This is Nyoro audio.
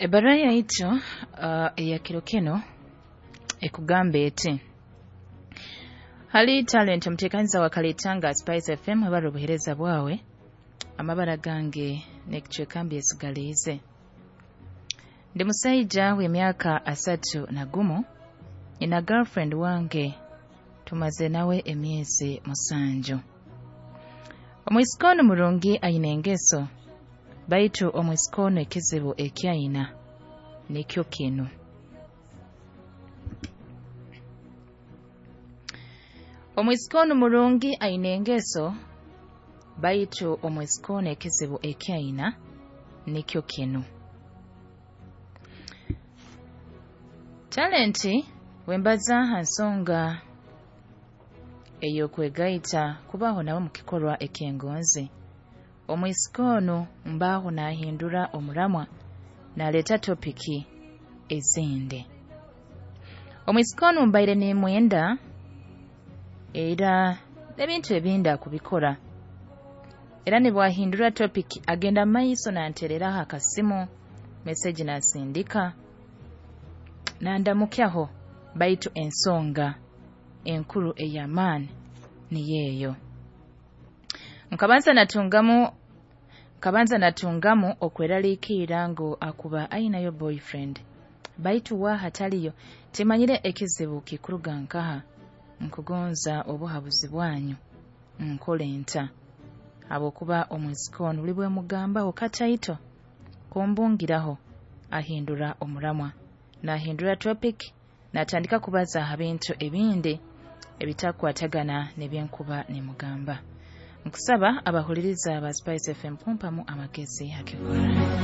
Ebbaruha yaitu eya kiro kinu ekugamba eti: Hali Talent, omuteekaniza wa Kalitanga Spice FM, ebara obuheereza bwawe, amabara gange n'ekicweka mbyesigaliize. Ndi musaija w'emyaka 31, nyina girlfriend wange tumaze nawe emyezi 7. Omwisiki onu murungi, aine engeso, baitu omwisiki onu ekizibu eki aina nikyo kinu. Omwisiki onu murungi, aine engeso, baitu omwisiki onu ekizibu eki aina nikyo kinu. Talenti wembaza ha nsonga ey'okwegaita kubaho nawe mu kikorwa eky'engonzi. Omwisiki onu mbaho naahindura omuramwa, naaleeta topiki ezindi. Omwisiki onu mbaire nimwenda, era n'ebintu ebindi akubikora. Era nibwahindura topiki agenda maiso nantereraho akasimu, meseji naasindika, nandamukyaho, baitu ensonga enkuru ey'amaani niyo eyo. Nkabanza natungamu okweraliikirra ngu akuba ainayo boyfriend, baitu waaha taliyo, timanyire ekizibu kikuruga nkaha. Nkugonza obuhabuzi bwanyu, nkole nta? Habwokuba omwisiki onu buli bwemugambaho kataito kumbungiraho ahindura omuramwa, naahindura topic, naatandika kubaza ha bintu ebindi ebitakukwatagana n'ebyenkuba nimugamba. Nkusaba abahuliriza ba Spice FM kumpamu amagezi hakikora.